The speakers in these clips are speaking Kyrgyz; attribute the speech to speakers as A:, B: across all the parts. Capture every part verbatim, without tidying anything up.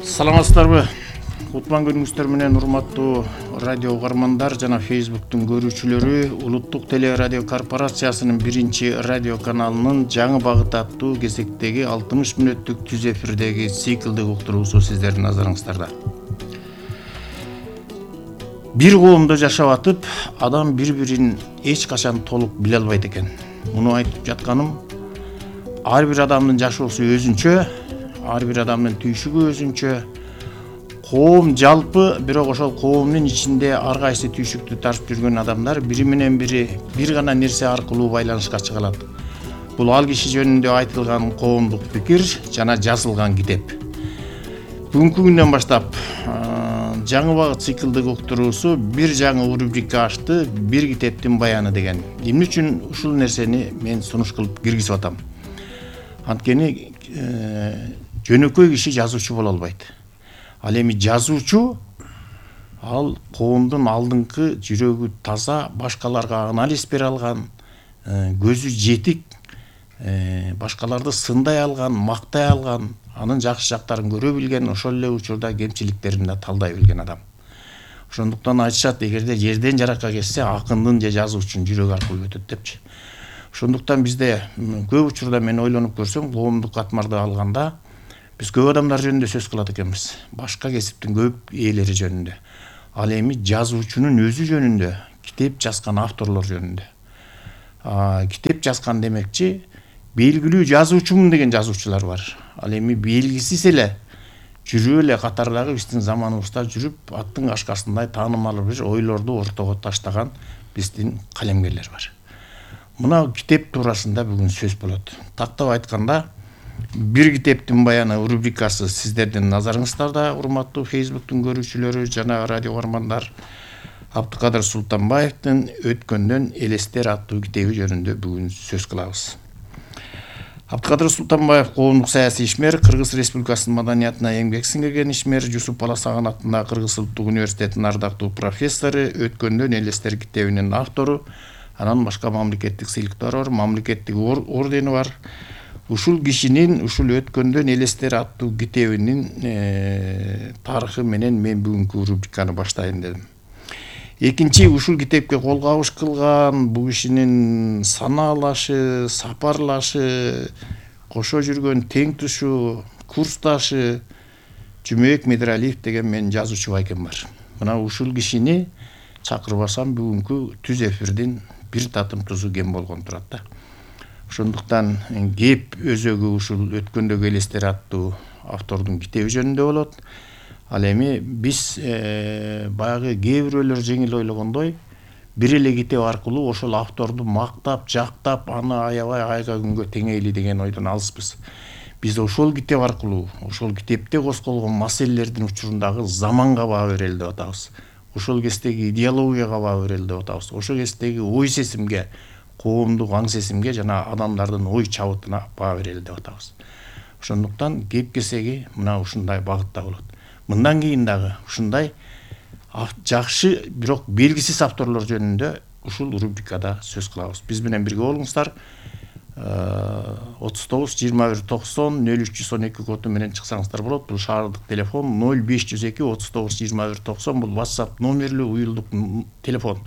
A: Саламатсыздарбы? Кутман күнүңүздөр менен урматтуу радио угармандар жана Facebooktун көрүүчүлөрү. Улуттук телерадио корпорациясынын биринчи радио каналынын жаңы багыт аттуу кезектеги алтымыш мүнөттүк түз эфирдеги циклдик уктуруусу сиздердин назарыңыздарда. Бир коомдо жашап атып, адам бири-бирин эч качан толук биле албайт экен. Муну айтып жатканым, ар бир адамдын жашоосу өзүнчө, ар бир адамдын түйшүгү өзүнчө. Коом жалпы, бирок ошол коомдун ичинде ар кайсы түйшүктү тартып жүргөн адамдар бири менен бири бир гана нерсе аркылуу байланышка чыга алат. Бул ал киши жөнүндө айтылган коомдук пикир жана жазылган китеп. Бүгүнкү күндөн баштап жаңы багыт циклдик уктуруусу бир жаңы рубрика ачты, бир китептин баяны деген. Эмне үчүн ушул нерсени мен сунуш кылып киргизип атам? Анткени жөнөкөй киши жазуучу боло албайт. Ал эми жазуучу ал коомдун алдыңкы жүрөгү таза, башкаларга анализ бере алган, көзү жетик, башкаларды сындай алган, мактай алган, анын жакшы жактарын көрө билген, ошол эле учурда кемчиликтерин да талдай билген адам. Ошондуктан айтышат, эгерде жерден жаракка кетсе, акындын же жазуучунун жүрөгү аркылуу өтөт депчи. Ошондуктан бизде көп учурда мен ойлонуп көрсөм, коомдук катмарды алганда биз көп адамдар жөнүндө сөз кылат экенбиз. Башка кесиптин көп ээлери жөнүндө. Ал эми жазуучунун өзү жөнүндө, китеп жазган авторлор жөнүндө. А, китеп жазган демекчи, белгилүү жазуучумун деген жазуучулар бар. Ал эми белгисиз эле жүрүп эле катардагы биздин заманыбызда жүрүп, аттын кашкасындай таанымал бир ойлорду ортого таштаган биздин калемгерлер бар. Мына китеп туурасында бүгүн сөз болот. Тактап айтканда, бир китептин баяны рубрикасы сиздердин назарыңыздарда, урматтуу Facebooktун көрүүчүлөрү жана радио угармандар. Абдыкадыр Султанбаевдин Өткөндөн элестер аттуу китеби жөнүндө бүгүн сөз кылабыз. Абдыкадыр Султанбаев коомдук саясий ишмер, Кыргыз Республикасынын маданиятына эмгек сиңирген ишмер, Жусуп Баласаган атындагы Кыргыз Улуттук университетинин ардактуу профессору, Өткөндөн элестер китебинин автору, анан башка мамлекеттик сыйлыктары бар, мамлекеттик ордени бар. Ушул кишинин ушул Өткөндөн элестер аттуу китебинин тарыхы менен мен бүгүнкү рубриканы баштайын дедим. Экинчи, ушул китепке кол кабыш кылган бул кишинин санаалашы, сапарлашы, кошо жүргөн тең тушу, курсташы Жумек Медиралиев деген мен жазуучу байкем бар. Мына ушул кишини чакырбасам бүгүнкү түз эфирдин бир татым тузу кем болгон турат да. Ошондуктан кеп өзөгү ушул Өткөндөгү элестер аттуу автордун китеби жөнүндө болот. Ал эми биз баягы кээ бирөөлөр жеңил ойлогондой, бир эле китеп аркылуу ошол авторду мактап, жактап, аны аябай айга күнгө теңейли деген ойдон алыспыз. Биз ошол китеп аркылуу, ошол китепте косколгон маселелердин учурундагы заманга баа берели деп атабыз. Ошол кездеги идеологияга баа берели деп атабыз. Ошол кездеги ой сезимге, коомдук аң сезимге жана адамдардын ой чабытына баа берели деп атабыз. Ошондуктан кеп кесеги мына ушундай багытта болот. Мындан кийин дагы ушундай жакшы, бирок белгисиз авторлор жөнүндө ушул рубрикада сөз кылабыз. Биз менен бирге болуңуздар. отуз тогуз жыйырма бир токсон нөл үч жүз он эки коду менен чыксаңыздар болот. Бул шаардык телефон нөл беш жүз эки отуз тогуз жыйырма бир токсон. Бул WhatsApp номерлүү уюлдук телефон.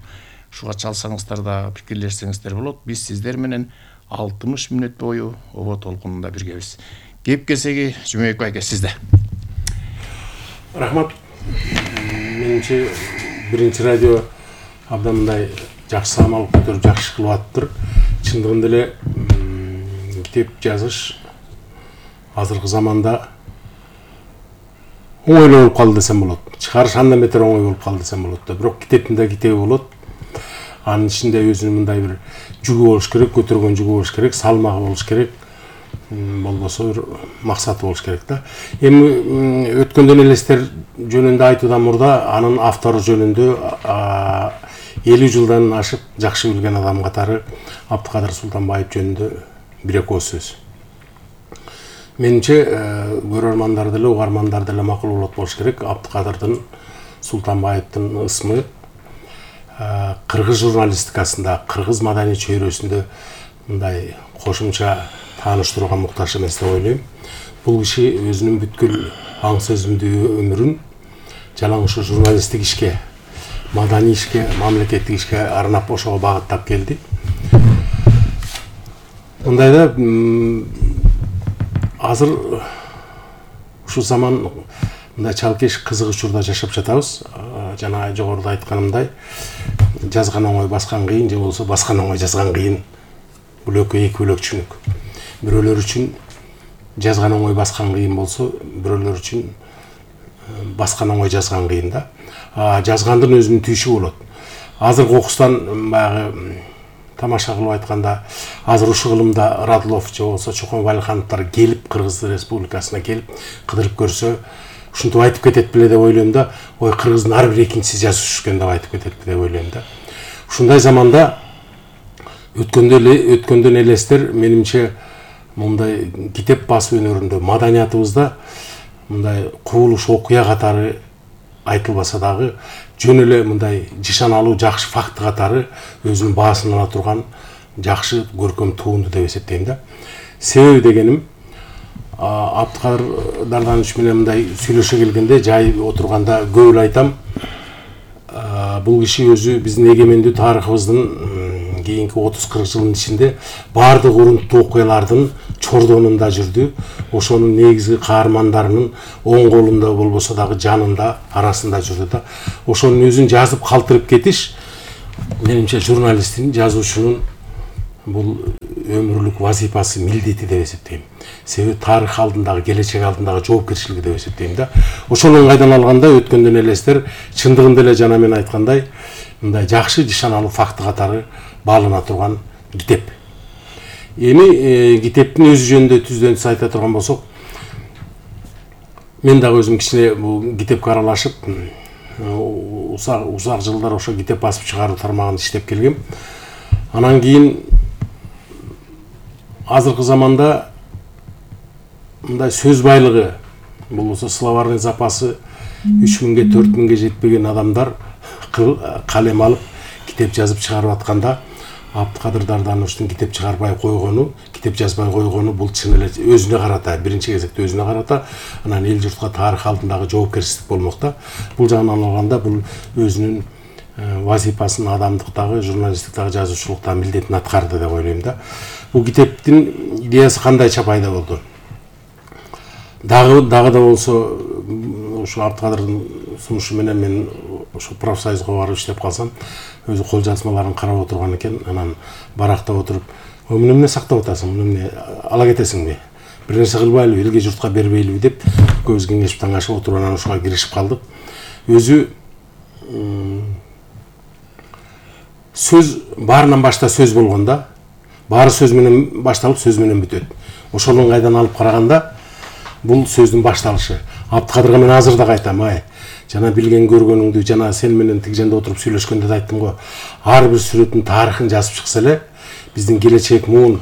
A: Ушуга чалсаңыздар да пикирлешсеңиздер болот. Биз сиздер менен алтымыш мүнөт бою обо толкунунда биргебиз. Кеп кесеги Жумек байке сизде.
B: Рахмат. Менимче биринчи радио абдан мындай жакшы самал көтөрүп жакшы кылып атыптыр. Чындыгында эле китеп жазыш азыркы заманда оңой болуп калды десем болот. Чыгарыш андан бетер оңой болуп калды десем болот да. Бирок китептин да китеби болот. Анын ичинде өзүнүн мындай бир жүгү болуш керек, көтөргөн жүгү болуш керек, салмагы болуш керек. Болбосо бир максаты болуш керек да. Эми Өткөндөн элестер жөнүндө айтуудан мурда анын автору жөнүндө элүү жылдан ашып жакшы билген адам катары Абдыкадыр Султанбаев жөнүндө бир экөө сөз. Менимче көрөрмандар деле, угармандар деле макул болот болуш керек. Абдыкадырдын Султанбаевдин ысмы кыргыз журналистикасында, кыргыз маданий чөйрөсүндө мындай кошумча тааныштырууга муктаж эмес деп ойлойм. Бул киши өзүнүн бүткүл аң сөзүмдүү өмүрүн жалаң ушу журналисттик ишке, маданий ишке, мамлекеттик ишке арнап ошого багыттап келди. Мындайда азыр ушул заман мындай чалкеш кызык учурда жашап жатабыз. Жана жогоруда айтканымдай, жазган оңой баскан кыйын, же болбосо баскан оңой жазган кыйын. Бул экөө эки бөлөк түшүнүк. Бирөөлөр үчүн жазган оңой баскан кыйын болсо, бирөөлөр үчүн баскан оңой жазган кыйын да. Жазгандын өзүнүн түйшү болот. Азыр кокустан баягы тамаша кылып айтканда, азыр ушул кылымда Радлов же болбосо Чокон Валихановдор келип Кыргыз Республикасына келип кыдырып көрсө, ушинтип айтып кетет беле деп ойлойм да. Ой, Кыргыздын ар бир экинчиси жазуучу экен деп айтып кетет деп ойлойм да. Ушундай заманда өткөндөн элестер менимче мындай китеп басуу өнөрүндө, маданиятыбызда мындай кубулуш окуя катары айтылбаса дагы, жөн эле мындай жышаналуу жакшы факт катары өзүнүн баасын ала турган жакшы көркөм туунду деп эсептейм да. Себеби дегеним, Абдыкадыр Дарданович менен мындай сүйлөшө келгенде, жай отурганда көп эле айтам, бул киши өзү биздин эгемендүү тарыхыбыздын кийинки отуз кырк жылдын ичинде баардык урунттуу окуялардын чордонунда жүрдү. Ошонун негизги каармандарынын оң колунда болбосо дагы жанында, арасында жүрдү да. Ошонун өзүн жазып калтырып кетиш менимче журналисттин, жазуучунун бул өмүрлүк вазифасы, милдети деп эсептейм. Себеби тарых алдындагы, келечек алдындагы жоопкерчилиги деп эсептейм да. Ошонун кайдан алганда өткөндөн элестер чындыгында эле жана мен айткандай, мындай жакшы жышаналуу факты катары баалана турган китеп. Эми китептин өзү жөнүндө түздөн-түз айта турган болсок, мен дагы өзүм кичине бул китепке аралашып, узак узак жылдар ошо китеп басып чыгаруу тармагында иштеп келгем. Анан кийин азыркы заманда мындай сөз байлыгы, болбосо словарный запасы үч миңге төрт миңге жетпеген адамдар калем алып китеп жазып чыгарып атканда, Абдыкадыр Дардановичтин китеп чыгарбай койгону, китеп жазбай койгону бул чын эле өзүнө карата, биринчи кезекте өзүнө карата, анан эл журтка тарых алдындагы жоопкерчилик болмок да. Бул жагынан алганда бул өзүнүн вазифасын адамдыктагы, журналисттиктагы, жазуучулуктагы милдетин аткарды деп ойлойм да. Бул китептин идеясы кандайча пайда болду? Дагы дагы да болсо ушу Абдыкадырдын сунушу менен мен ушу профсоюзга барып иштеп калсам, өзү кол жазмаларын карап отурган экен, анан барактап отуруп, "Муну эмне сактап атасың? Муну эмне ала кетесиңби? Бир нерсе кылбайлыбы, элге журтка бербейлиби?" деп көз кеңешип таңашып отуруп анан ушуга киришип калдык. Өзү сөз баарынан башта сөз болгондо, баары сөз менен башталып, сөз менен бүтөт. Ошонун кайдан алып караганда, бул сөздүн башталышы. Абдыкадырга мен азыр да айтам, ай, жана билген көргөнүңдү, жана сен менен тиг жерде отуруп сүйлөшкөндө да айттым го. Ар бир сүрөттүн тарыхын жазып чыкса эле, биздин келечек муун,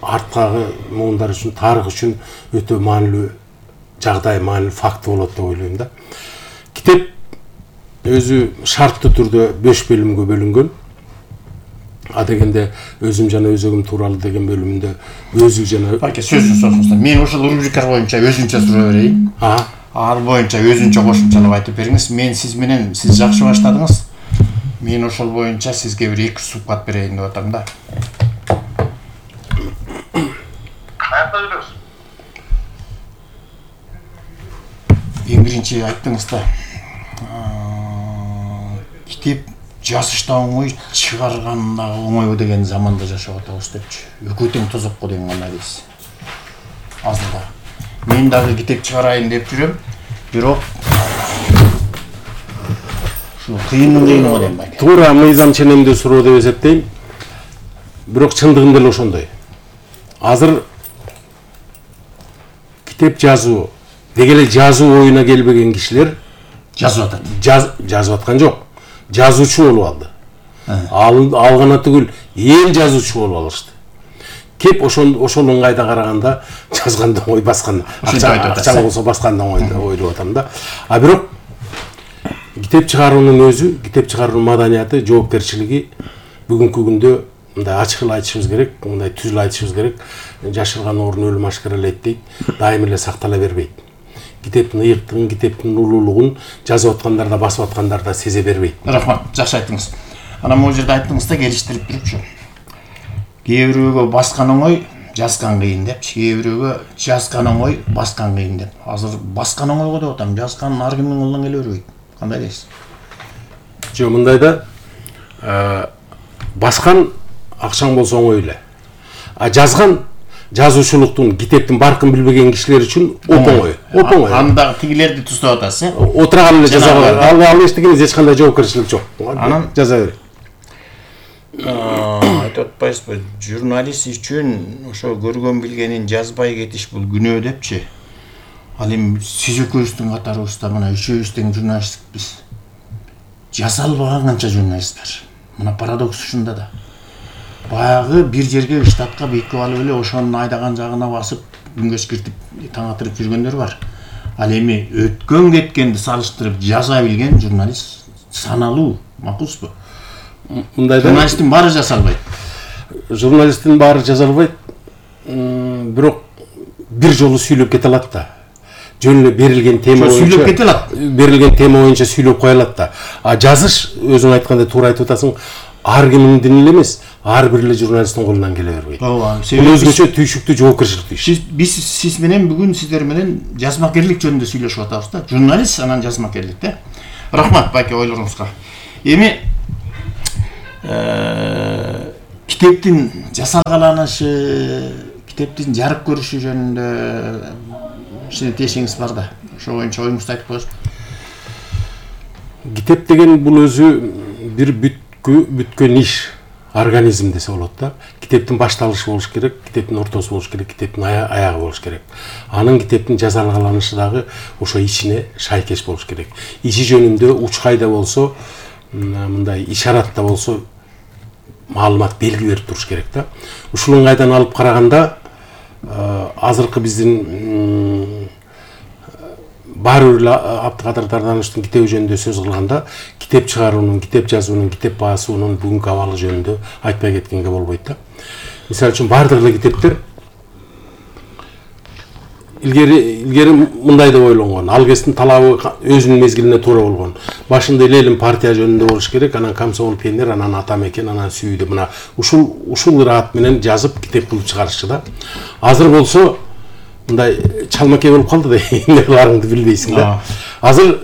B: арткагы муундар үчүн, тарых үчүн өтө маанилүү жагдай, маанилүү факт болот деп ойлойм да. Китеп өзү шарттуу түрдө беш бөлүмгө бөлүнгөн. А дегенде өзүм жана өзөгүм тууралуу деген бөлүмүндө өзү жана
A: Байке сөзүн созуңуздар. Мен ушул рубрика боюнча өзүнчө суроо берейин.
B: А,
A: ал боюнча өзүнчө кошумчалап айтып бериңиз. Мен сиз менен сиз жакшы баштадыңыз. Мен ошол боюнча сизге бир эки сухбат берейин деп атам да.
C: Каякта жүрөсүз?
A: Эң биринчи айттыңыз да. Китеп жазышта оңой, чыгарганда оңой деген заманда жашап атабыз депчи. Экөө тең тозокко деген кандай дейсиз? Азырда. Мен дагы китеп чыгарайын деп жүрөм, бирок ушу кыйындын кыйыны дейм байке.
B: туура мыйзам ченемдүү суроо деп эсептейм. Бирок чындыгында эле ошондой. Азыр китеп жазуу, деги эле жазуу оюна келбеген кишилер
A: жазып атат.
B: Жаз, жазып аткан жок. Жазуучу болуп алды. Ал, алгана түгүл, эл жазуучу болуп алышты. Кеп ошон ошонун кайда караганда жазганда оңой, баскан акча болсо басканда оңой деп ойлоп атам да. А бирок китеп чыгаруунун өзү, китеп чыгаруунун маданияты, жоопкерчилиги бүгүнкү күндө мындай ачык эле айтышыбыз керек, мындай түз эле айтышыбыз керек. Жашырган орун өлүм ашкаралайт дейт, дайым эле сактала бербейт. китептин ыйыктыгын, китептин улуулугун жазып аткандар да, басып аткандар да сезе бербейт.
A: Рахмат, жакшы айттыңыз. Анан могу жерде айттыңыз да, келиштирип турупчу. Кээ бирөөгө баскан оңой, жазган кыйын депчи. Кээ бирөөгө жазган оңой, баскан кыйын деп. Азыр баскан оңойго деп атам, жазган ар кимдин колунан келе бербейт. Кандай дейсиз?
B: Жок, мындай да, баскан акчаң болсо оңой эле. А жазган жазуучулуктун, китептин баркын билбеген кишилер үчүн оп-оңой. Оп-оңой.
A: Анда тигилерди туздап атасыз, э?
B: Отурган эле жаза алат. Ал ал эчтегениз эч кандай жоопкерчилик жок.
A: Анан
B: жаза бер.
A: Айтып атпайсызбы, журналист үчүн ошо көргөн билгенин жазбай кетиш бул күнөө депчи. Ал эми сиз экөөбүздүн катарыбызда мына үчөөбүз тең журналистпиз. Жаза албаган канча журналист бар. Мына парадокс ушунда да. Баягы бир жерге штатка бекип алып эле ошонун айдаган жагына басып, күнгөс киртип, таң атырып жүргөндөр бар. Ал эми өткөн кеткенди салыштырып жаза билген журналист саналуу, макулсузбу?
B: Мындай да,
A: журналисттин баары жаза албайт.
B: Журналисттин баары жаза албайт. Бирок бир жолу сүйлөп кете алат да. Жөн эле берилген тема боюнча
A: сүйлөп кете алат.
B: Берилген тема боюнча сүйлөп кое алат да. А жазыш, өзүң айткандай туура айтып атасың, ар кимдин эле эмес, ар бир эле журналисттин колунан келе бербейт.
A: Ооба,
B: бул өзгөчө түйшүктүү жоопкерчиликтүү иш.
A: Биз сиз менен бүгүн сиздер менен жазмакерлик жөнүндө сүйлөшүп атабыз да. Журналист анан жазмакерлик да. Рахмат байке ойлоруңузга. Эми китептин жасалгаланышы, китептин жарык көрүшү жөнүндө сиздин тиешиңиз бар да. Ошо боюнча оюңузду айтып коесузбу?
B: Китеп деген бул өзү бир бүткү бүткөн иш, организм десе болот да. Китептин башталышы болуш керек, китептин ортосу болуш керек, китептин аягы болуш керек. Анын китептин жасалгаланышы дагы ошо ичине шайкеш болуш керек. Иши жөнүндө уч кайда болсо, мындай ишаратта болсо маалымат белги берип туруш керек да. Ушул ыңгайдан алып караганда, азыркы биздин баары бир Абдыкадыр Дарданыштын китеби жөнүндө сөз кылганда, китеп чыгаруунун, китеп жазуунун, китеп басуунун бүгүнкү абалы жөнүндө айтпай кеткенге болбойт да. Мисалы үчүн баардык эле китептер илгери илгери мындай деп ойлонгон. Ал кездин талабы өзүнүн мезгилине туура болгон. Башында Ленин партия жөнүндө болуш керек, анан комсомол пионер, анан ата мекен, анан сүйдү. Мына ушул ушул ыраат менен жазып китеп кылып чыгарышчы да. Азыр болсо мындай чалмаке болуп калды да, эмне кыларыңды билбейсиң да. Азыр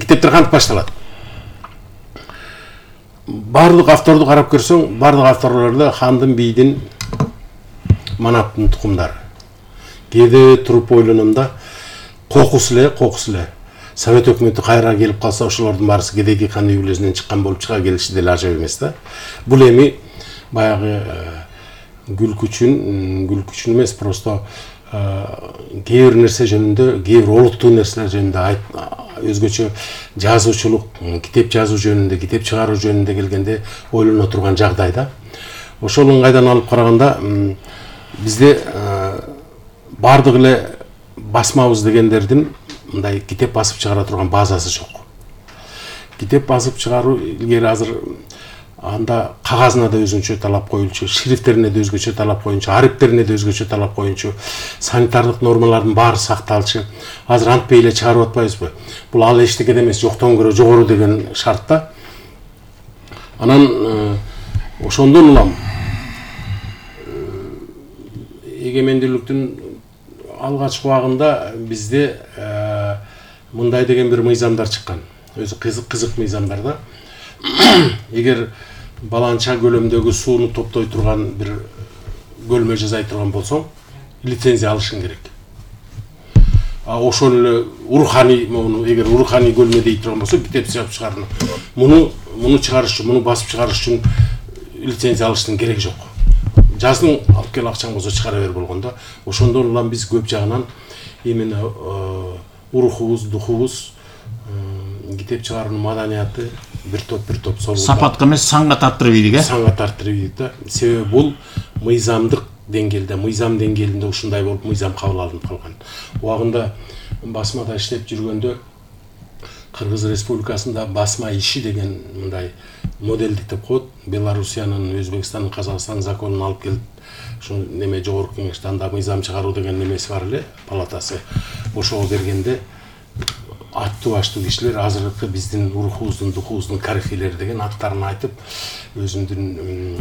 B: китептер кантип башталат? Бардык авторду карап көрсөң, бардык авторлордо хандын, бийдин, манаптын тукумдары. Кээде туруп ойлоном да, кокус эле, кокус эле. Совет өкмөтү кайра келип калса, ошолордун баарысы кедейки хан үйлөсүнөн чыккан болуп чыга келиши деле ажап эмес да. Бул эми баягы күлкүчүн, күлкүчүн эмес, просто кээ бир нерсе жөнүндө, кээ бир олуттуу нерселер жөнүндө өзгөчө жазуучулук, китеп жазуу жөнүндө, китеп чыгаруу жөнүндө келгенде ойлоно турган жагдай да. Ошол ыңгайдан алып караганда, бизде бардык эле басмабыз дегендердин мындай китеп басып чыгара турган базасы жок. Китеп басып чыгаруу илгери азыр анда кагазына да өзүнчө талап коюлчу, шрифттерине да өзгөчө талап коюнчу, ариптерине да өзгөчө талап коюнчу, санитардык нормалардын баары сакталчу. Азыр антпей эле чыгарып атпайбызбы? Бул ал эчтеке эмес, жоктон көрө жогору деген шартта. Анан ошондон улам эгемендүүлүктүн алгачкы убагында бизде мындай деген бир мыйзамдар чыккан. Өзү кызык кызык мыйзамдар да. Эгер баланча көлөмдөгү сууну топтой турган бир көлмө жасай турган болсоң, лицензия алышың керек. А ошол эле уруханий, муну эгер уруханий көлмө дей турган болсо, китеп чыгарып чыгаруу. Муну муну чыгарыш үчүн, муну басып чыгарыш үчүн лицензия алыштын кереги жок. Жаздың алып кел акчаң болсо чыгара бер болгон да. Ошондон улам биз көп жагынан именно урухубуз, духубуз, китеп чыгаруунун маданияты бир топ бир топ сол.
A: Сапатка эмес, санга тарттырып ийдик, э?
B: Санга тартырып ийдик да. Себеби бул мыйзамдык деңгээлде, мыйзам деңгээлинде ушундай болуп мыйзам кабыл алынып калган. Убагында басмада иштеп жүргөндө Кыргыз Республикасында басма иши деген мындай моделдик деп коет. Белоруссиянын, Өзбекстандын, Казакстандын законун алып келип, ушу неме жогорку кеңеште анда мыйзам чыгаруу деген немеси бар эле, палатасы. Ошого бергенде аттуу баштуу кишилер азыркы биздин рухубуздун духубуздун корифейлери деген аттарын айтып, өзүмдүн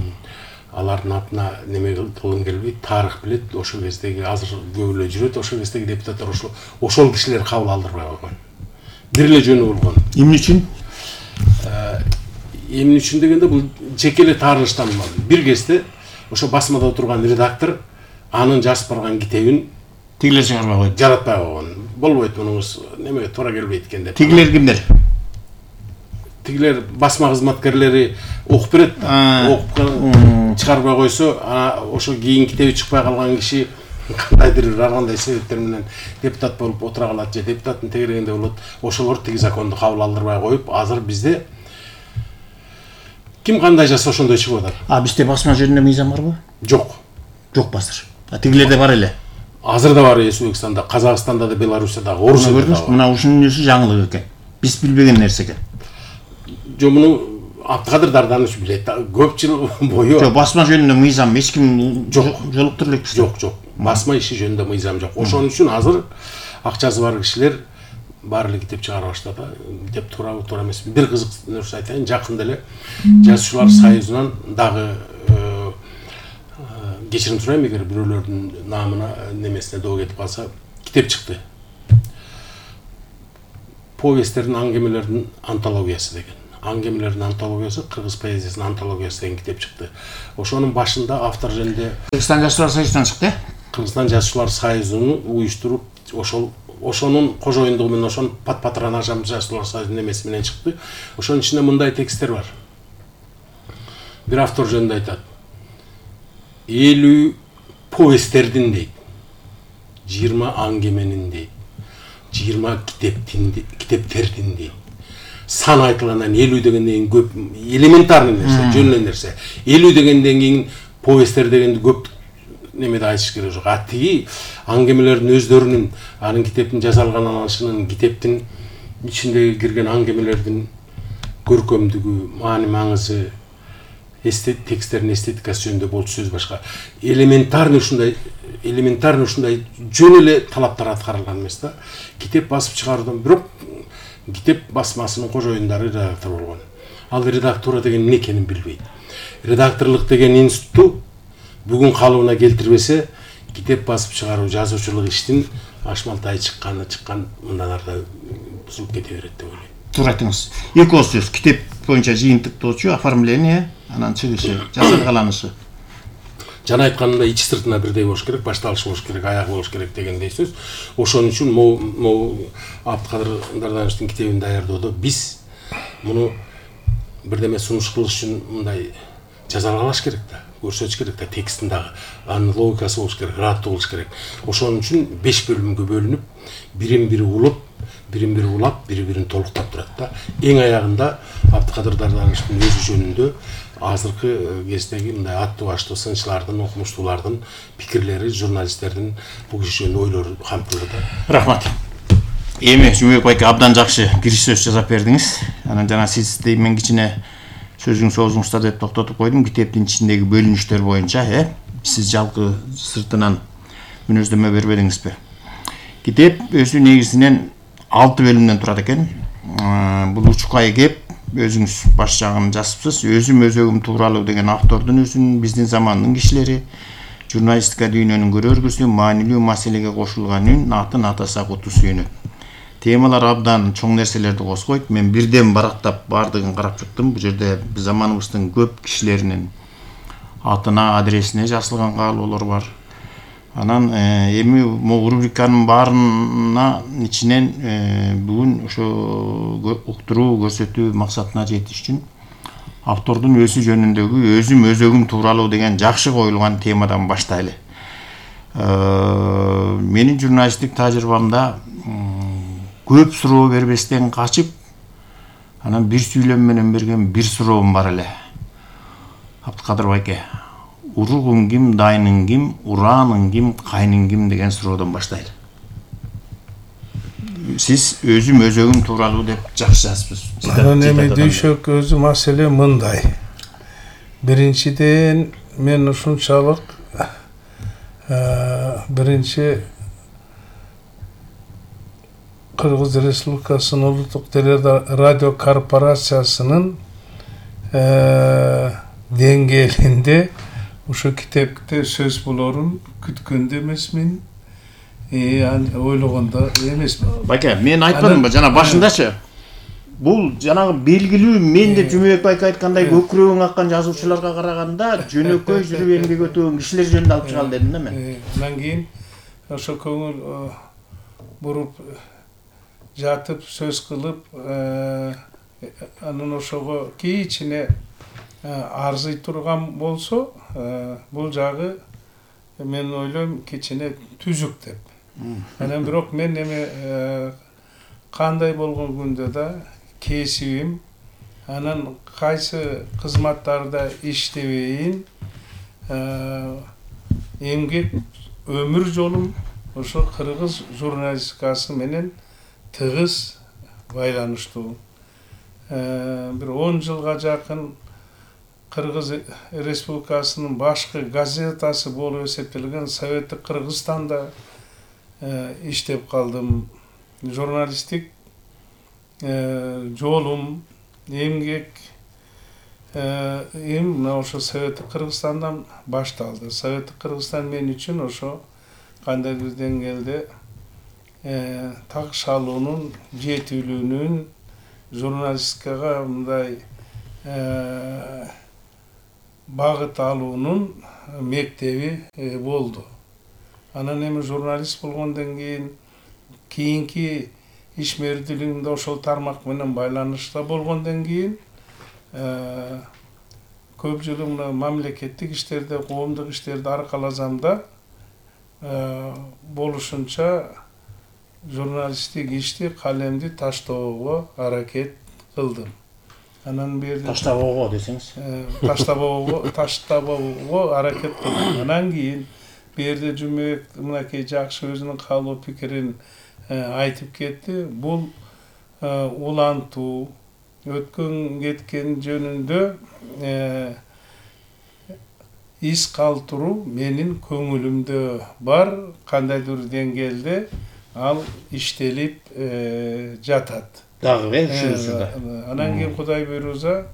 B: алардын атына неме кылгым келбейт, тарых билет, ошол кездеги азыр көп эле жүрөт, ошол кездеги депутаттар ошол ошол кишилер кабыл алдырбай койгон. Бир эле жөнү болгон.
A: Эмне үчүн?
B: Эмне үчүн дегенде бул жеке эле таарынычтан болгон. Бир кезде ошо басмада отурган редактор анын жазып барган китебин
A: тигилер чыгарбай койду.
B: Жаратпай койгон. Болбойт мунуңуз немеге туура келбейт экен деп.
A: Тигилер кимдер?
B: Тигилер басма кызматкерлери окуп берет. Окуп чыгарбай койсо, ошо кийин китеби чыкпай калган киши кандайдыр ар кандай себептер менен депутат болуп отура калат же депутаттын тегерегинде болот. Ошолор тиги законду кабыл алдырбай коюп, азыр бизде ким кандай жаса ошондой чыгып атат.
A: А бизде басма жөнүндө мыйзам барбы?
B: Жок.
A: Жок басыр. А тигилерде бар эле.
B: Азыр да бар Өзбекстанда, Казакстанда да, Беларусьта, Орусияда да бар.
A: Мына ушунун өзү жаңылык экен. Биз билбеген нерсе экен.
B: Жо муну Абдыкадыр Дарданыч билет. Көп жыл бою.
A: Жок, басма жөнүндө мыйзам эч ким жолуктура элек.
B: Жок, жок. Басма иши жөнүндө мыйзам жок. Ошон үчүн азыр акчасы бар кишилер баары эле китеп чыгара баштады. Деп туурабы, туура эмеспи. Бир кызык нерсе айтайын, жакында эле Жазуучулар союзунан дагы кечирим сурайм, эгер бирөөлөрдүн наамына немесине доо кетип калса, китеп чыкты. Повесттердин, аңгемелердин антологиясы деген. Аңгемелердин антологиясы, кыргыз поэзиясынын антологиясы деген китеп чыкты. Ошонун башында автор жөнүндө
A: Кыргызстан Жазуучулар союзунан чыкты.
B: Кыргызстан Жазуучулар союзуну уюштуруп, ошол ошонун кожоюндугу менен, ошонун патронажы Жазуучулар союзунун немеси менен чыкты. Ошонун ичинде мындай тексттер бар. Бир автор жөнүндө айтат. элүү повесттердин дейт, жыйырма аңгеменин дейт, жыйырма китептин китептердин дейт. Сан айтылгандан элүү дегенден кийин көп элементарный нерсе, жөн эле нерсе. элүү дегенден кийин повесттер дегенди көп немеде айтыш керек жок. А тиги аңгемелердин өздөрүнүн, анын китептин жасалган алышынын, китептин ичиндеги кирген аңгемелердин көркөмдүгү, маани маңызы, эстет тексттердин эстетикасы жөнүндө болчу сөз башка. Элементарный ушундай, элементарный ушундай жөн эле талаптар аткарылган эмес да. Китеп басып чыгаруудан, бирок китеп басмасынын кожоюндары редактор болгон. Ал редактура деген эмне экенин билбейт. Редакторлук деген институтту бүгүн калыбына келтирбесе, китеп басып чыгаруу, жазуучулук иштин ашмалтай чыкканы чыккан мындан ары бузулуп кете берет деп ойлойм.
A: Туура айтыңыз. Эки ооз сөз. Китеп боюнча жыйынтыктоочу, оформление, анан чыгышы, жасалгаланышы.
B: Жана айтканымда ичи сыртына бирдей болуш керек, башталышы болуш керек, аягы болуш керек дегендей сөз. Ошон үчүн могу Абдыкадыр Дарданычтын китебин даярдоодо биз муну бирдеме сунуш кылыш үчүн мындай жазалгалаш керек да, көрсөтүш керек да, текстин дагы анын логикасы болуш керек, ыраттуу болуш керек. Ошон үчүн беш бөлүмгө бөлүнүп, бирин-бири улуп, бирин-бири улап, бири-бирин толуктап турат да. Эң аягында Абдыкадыр Дарданычтын өзү жөнүндө азыркы кездеги мындай аттуу баштуу сынчылардын, окумуштуулардын пикирлери, журналисттердин бул киши жөнүндө ойлору камтылды.
A: Рахмат. Эми Жумабек байке абдан жакшы кириш сөз жасап бердиңиз. Анан жана сиз мен кичине сөзүңүз оозуңузда деп токтотуп койдум. Китептин ичиндеги бөлүнүштөр боюнча, э, сиз жалпы сыртынан мүнөздөмө бербедиңизби? Китеп өзү негизинен алты бөлүмдөн турат экен. Бул учкай кеп өзүңүз баш жагын жазыпсыз. Өзүм өзөгүм тууралуу деген автордун өзүнүн, биздин замандын кишилери, журналистика дүйнөнүн көрөргүсү, маанилүү маселеге кошулган үн, атын атаса куту сүйүнөт. Темалар абдан чоң нерселерди козгойт. Мен бирден барактап бардыгын карап чыктым. Бул жерде заманыбыздын көп кишилеринин атына, адресине жазылган каалоолор бар. Анан эми могу рубриканын баарына ичинен бүгүн ошо уктуруу, көрсөтүү максатына жетиш үчүн автордун өзү жөнүндөгү өзүм өзөгүм тууралуу деген жакшы коюлган темадан баштайлы. Менин журналисттик тажрыйбамда көп суроо бербестен качып, анан бир сүйлөм менен берген бир суроом бар эле. Абдыкадыр байке, уругуң ким, дайның ким, урааның ким, кайның ким деген суроодон баштайлы. Сиз өзүм өзөгүм тууралуу деп жакшы жазыпсыз.
D: Анан эми дүйшөк өзү маселе мындай. Биринчиден мен ушунчалык биринчи Кыргыз Республикасынын Улуттук телерадио корпорациясынын деңгээлинде ошо китепте сөз болорун күткөндө эмесмин, ойлогондо эмесмин.
A: Байке, мен айтпадымбы жана башындачы? Бул жанагы белгилүү мен деп Жумабек байке айткандай көкүрөгүң аккан жазуучуларга караганда жөнөкөй жүрүп эмгек өтөгөн кишилер жөнүндө алып чыгалы дедим да мен.
D: Андан кийин ошо көңүл буруп жатып сөз кылып, анан ошого кичине арзый турган болсо, бул жагы мен ойлойм кичине түзүк деп. Анан бирок мен эме кандай болгон күндө да кесибим, анан кайсы кызматтарда иштебейин, эмгек өмүр жолум ошо кыргыз журналистикасы менен тыгыз байланыштуу. Бир он жылга жакын Кыргыз Республикасынын башкы газетасы болуп эсептелген Советтик Кыргызстанда иштеп калдым. Журналисттик жолум, эмгек эм мына ошо Советтик Кыргызстандан башталды. Советтик Кыргызстан мен үчүн ошо кандайдыр деңгээлде такшалуунун, жетүүлүүнүн, журналистикага мындай багыт алуунун мектеби болду. Анан эми журналист болгондон кийин кийинки ишмердүүлүгүмдө ошол тармак менен байланышта болгондон кийин көп жыл мамлекеттик иштерде, коомдук иштерди аркаласам да болушунча журналисттик ишти, калемди таштабоого аракет кылдым. Анан берди
A: таштабоого десеңиз.
D: Таштабоого, таштабоого аракет кылдым. Анан кийин берди Жумабек мынакей жакшы өзүнүн каалоо пикирин айтып кетти. Бул улантуу, өткөн кеткен жөнүндө из калтыруу менин көңүлүмдө бар, кандайдыр деңгээлде ал иштелип жатат.
A: Дагы ушунда.
D: Анан кийин Кудай буйруза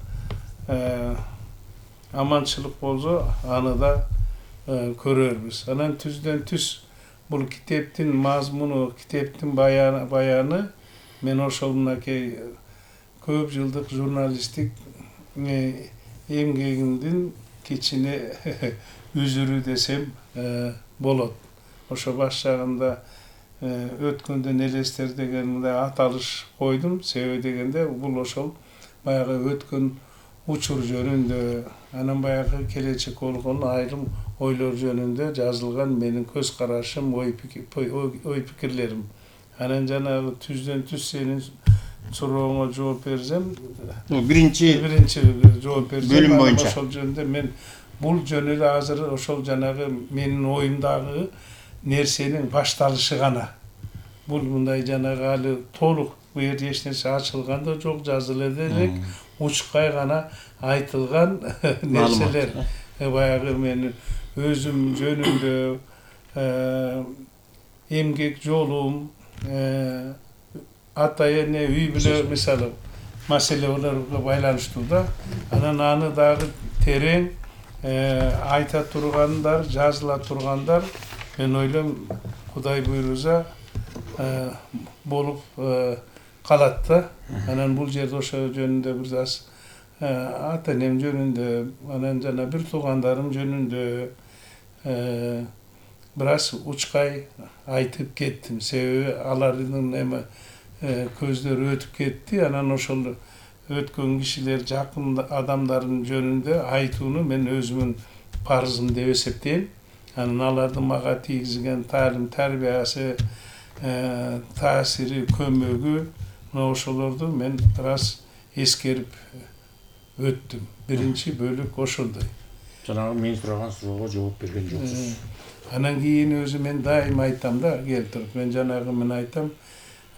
D: аманчылык болсо, аны да көрөрбүз. Анан түздөн түз бул китептин мазмуну, китептин баяны, баяны мен ошол мынакей көп жылдык журналисттик эмгегимдин кичине үзүрү десем болот. Ошо баш жагында өткөндөн элестер деген мындай аталыш койдум. Себеби дегенде бул ошол баягы өткөн учур жөнүндө, анан баягы келечек болгон айрым ойлор жөнүндө жазылган менин көз карашым, ой пикирлерим. Анан жанагы түздөн түз сенин сурооңо жооп берсем,
A: биринчи
D: биринчи жооп берсем,
A: бөлүм боюнча
D: ошол жөнүндө мен бул жөнү эле азыр ошол жанагы менин оюмдагы нерсенин башталышы гана. Бул мындай жанагы али толук бу жерде эч нерсе ачылган да жок, жазыла элек, учкай гана айтылган нерселер. Баягы мен өзүм жөнүндө, эмгек жолум, ата эне үй бүлө мисалы маселелерге байланыштуу да. Анан аны дагы терең айта тургандар, жазыла тургандар мен ойлойм Кудай буйруза болуп калат да. Анан бул жерде ошо жөнүндө бир аз ата энем жөнүндө, анан жана бир туугандарым жөнүндө бир аз учкай айтып кеттим. Себеби алардын эме көздөрү өтүп кетти. Анан ошол өткөн кишилер, жакын адамдардын жөнүндө айтууну мен өзүмүн парызым деп эсептейм. Анан алардын мага тийгизген таалим тарбиясы, таасири, көмөгү, мына ошолорду мен бир аз эскерип өттүм. Биринчи бөлүк ошондой.
A: Жанагы мен сураган суроого жооп берген жоксуз.
D: Анан кийин өзү мен дайым айтам да, келтирип, мен жанагы мен айтам,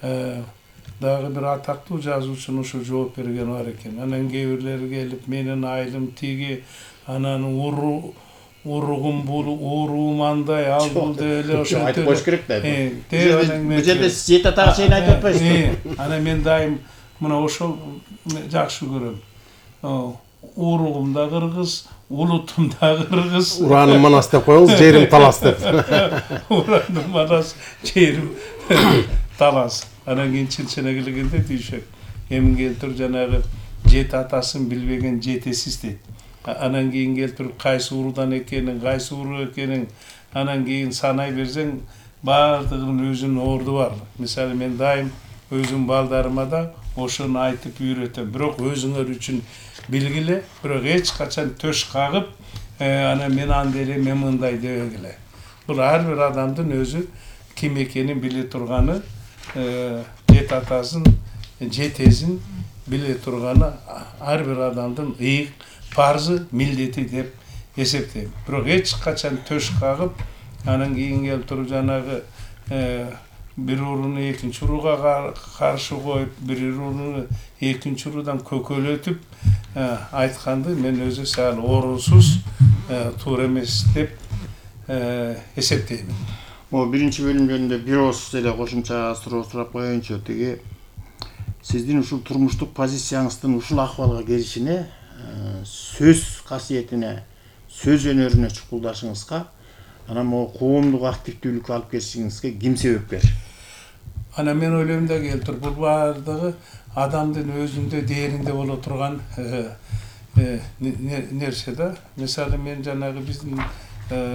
D: дагы бир атактуу жазуучунун ошо жооп берген бар экен. Анан кээ бирлери келип менин айылым тиги, анан уру уругум бул, уруум андай, ал бул деп эле ошентип
A: айтып коюш керек да.
D: Э,
A: Бул жерде жети атага чейин айтып атпайсызбы?
D: Ана мен дайым мына ошол жакшы көрөм. Уругум да кыргыз, улутум да кыргыз.
B: Ураным манас деп коюңуз, жерим талас деп.
D: Ураным манас, жерим талас. Анан кийин чынчына келгенде дүйшөк. Эми келтирип жанагы жети атасын билбеген жетесиз дейт. Анан кийин келтирип кайсы урудан экенин, кайсы уру экенин, анан кийин санай берсең, баардыгынын өзүнүн орду бар. Мисалы мен дайым өзүм балдарыма да ошону айтып үйрөтөм. Бирок өзүңөр үчүн билгиле, бирок эч качан төш кагып, анан мен андай эле, мен мындай дебегиле. Бул ар бир адамдын өзү ким экенин биле турганы, жети атасын, жетесин биле турганы ар бир адамдын ыйык парзы, милдети деп эсептейм. Бирок эч качан төш кагып, анан кийин келип туруп жанагы бир уруну экинчи уруга каршы коюп, бир уруну экинчи урудан көкөлөтүп айтканды мен өзү сал орунсуз, туура эмес деп эсептейм.
A: Могу биринчи бөлүмдөрүндө бир ооз эле кошумча суроо сурап коеюнчу. Тиги сиздин ушул турмуштук позицияңыздын ушул акыбалга келишине, сөз касиетине, сөз өнөрүнө чукулдашыңызга, анан могу коомдук активдүүлүккө алып келишиңизге ким себепкер?
D: Анан мен ойлойм да келтир, бул баардыгы адамдын өзүндө дээринде боло турган нерсе да. Мисалы мен жанагы биздин